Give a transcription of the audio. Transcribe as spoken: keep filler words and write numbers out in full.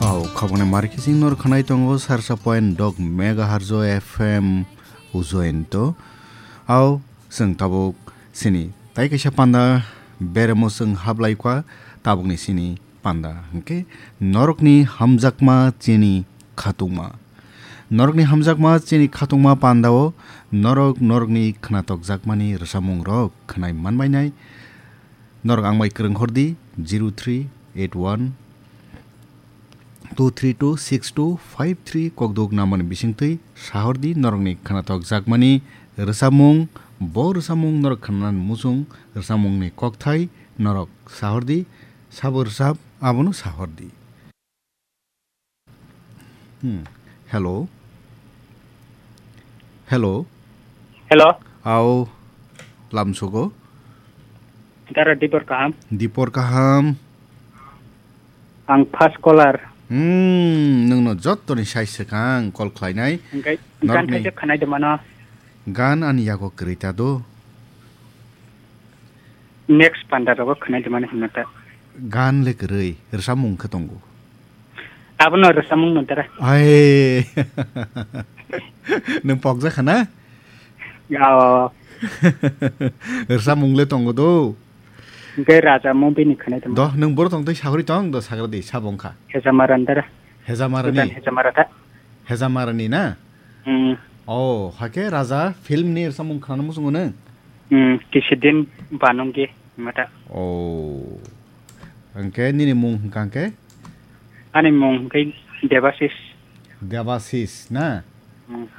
Au, khabangni marikising nor khanai tongo sarsa point dok megahertz o F M ujoento. Au, chwng tabuk sini tai kaisa panda beremo chwng hablai kha, tabukni sini panda hwnkhe norokni hamjakma chini khatungma. Norokni hamjakma chini khatungma pandao norok norokni khwnatokjakmani rwchapmungrok khwnai manbainai. Norok ang bai kwrwng hordi, zero three eight one two three two six two five three kokduk namani bisingtwi sahordi norokni khwnatokjakmani rwchapmung, bo rwchapmung norok khwnanani muchung, rwchapmungni kokthai norok sahordi, sabo rwchap abono sahordi. Hmm. Hello. Hello. Hello. Au. Lamsogo. Dara Dipor kaham. Dipor kaham. Ang first caller. Hmm, nungno jottoni sai swkang call khlainai. Hingkai gan norokni khaijak khanai de mano. Gan ani yago kwrwi ta do. Next panda rogo khwnai de mani hwnna ta. Gan le kwrwi, rwchapmung khe tongo. Abono rwchapmung no dara. Ai. Nwng pokjak kha na? Ao. Rwchapmung le tongo do. Hingke Raja movie ni khwnai de mani. Do, nwng boro tong tei sahori tong do sagra di, sabo wngkha. Hejamara dara. Hejamara ni? Hejamara ta. Hejamara ni na? Hmm. Oh, hake Raja film ni rwchapmung khwnano muchungo nwng? Hmm, kisidin banunggi mata. Oh. Hwnkhe nini mung hwnkha hwnkhe? Ani mung hwnkhe Debasis. Debasis na? Hmm.